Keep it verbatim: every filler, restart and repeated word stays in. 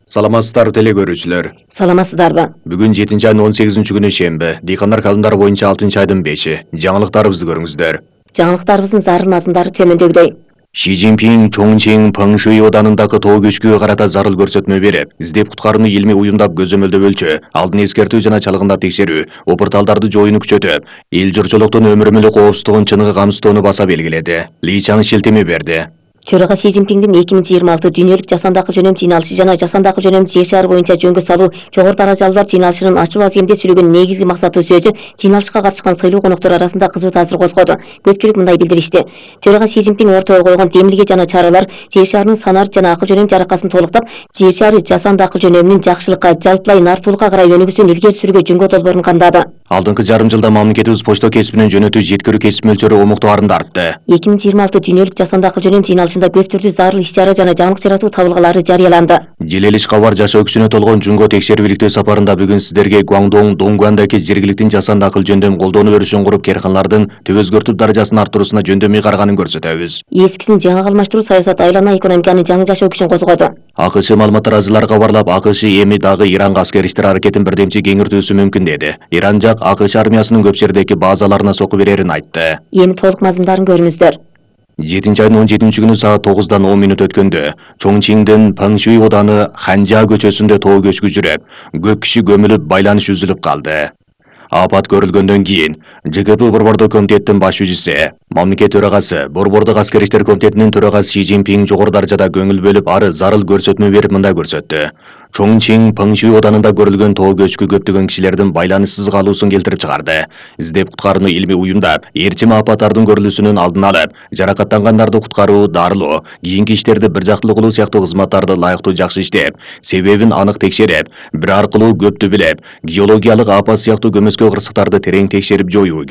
Саламатсыздар теле көрүүчүлөр. Саламатсыздарбы? Бүгүн жетинчи айдын он сегизинчи күнү шемби. Дыйкандар калымдары боюнча алтынчы айдын беши. Жаңылыктарыбызды көрүңүздөр. Жаңылыктарыбыздын зарыл мазмундары төмөндөгүдөй. Ши Цзиньпин Чоңчиң Пыңшуй оданындагы тоо көчкүгө карата зарыл көрсөтмө берип, издеп куткарууну илмий уюмдап көзөмөлдөп өлчө, алдын эскертүү жана чалгындап текшерүү, опурталдарды жоюуну күчөтүп, эл журчулуктун өмүрү мүлүк коопсуздугун чыныгы камсыздоону баса белгиледи. Ли Чаң шилтеме берди. Төрага Ши Цзиньпиндин эки миң жыйырма алты дүйнөлүк жасанды акыл жөнөм жыйналышы жана жасанды акыл жөнөм жер шары боюнча жөнгө салуу жогору даражалуулар жыйналышынын ачуу аземде сүйлөгөн негизги максаттуу сөзү жыйналышка катышкан сыйлуу коноктор арасында кызуу таасир козгоду. Көпчүлүк мындай билдиришти. Төрага Ши Цзиньпин ортого койгон демилге жана чаралар жер шарынын санарып жана акыл жөнөм жаракасын толуктап, жер шары жасанды акыл жөнөмүнүн жакшылыкка, жалпылай нартуулукка карай өнүгүүсүн илгери сүрүүгө жөнгө долбоорун кандады. Алдыңкы жарым жылда мамлекетибиз почта кесибинен жөнөтүү жеткирүү кесип мөлчөрү омуктуарында артты. эки миң жыйырма алты дүйнөлүк жасанды акыл жөнөм жыйналышында көп түрдүү зарыл иш-чара жана жаңылык жаратуу табылгалары жарыяланды. Желелиш кабар жашоо күчүнө толгон Жунго текшерип иликтөө сапарында бүгүн сиздерге Гуаңдоң Донгуандагы жергиликтин жасанды акыл жөндөм колдонуу өрүшүн куруп, керканалардын түп өзгөртүп даражасын арттыруусуна жөндөмүй караганын көрсөтөбүз. Эскисин жаңы алмаштыруу саясат айлана экономиканын жаңы жашоо күчүн козгоду. АКШ маалыматтар ажылары кабарлап, АКШ эми дагы Иранга аскер иштер аракетин бирдемчи кеңиртүүсү мүмкүн деди. Иран жак АКШ армиясынын көп жердеги базаларына сокку берерин айтты. Эми толук мазмундарын көрүңүздөр. жетинчи айдын он жетинчи күнү саат тогуздан он мүнөт өткөндө Чоңчиңдин Пыңшуй оданы Ханжа көчөсүндө тоо көчкү жүрүп, көп киши көмүлүп, байланыш үзүлүп калды. Апат көрүлгөндөн кийин ЖКП Борбордук комитеттин башчысы, мамлекет төрагасы, Борбордук аскер иштер комитетинин төрагасы Ши Цзиньпин жогору даражада көңүл бөлүп, ары зарыл көрсөтмө берип мындай көрсөттү. Чоңчиң Пыңшуй оданында көрүлгөн тоо көчкү көптөгөн кишилердин байланышсыз калуусун келтирип чыгарды. Издеп куткарууну илмий уюмдап, ээрчим апаттардын көрүлүүсүнүн алдын алып, жаракаттангандарды куткаруу, дарылоо, кийинки иштерди бир жактылуу кылуу сыяктуу кызматтарды лайыктуу жакшы иштеп, себебин анык текшерип, бир аркылуу көптү билеп, геологиялык апат сыяктуу көмөскө кырсыктарды терең текшерип жоюу керек.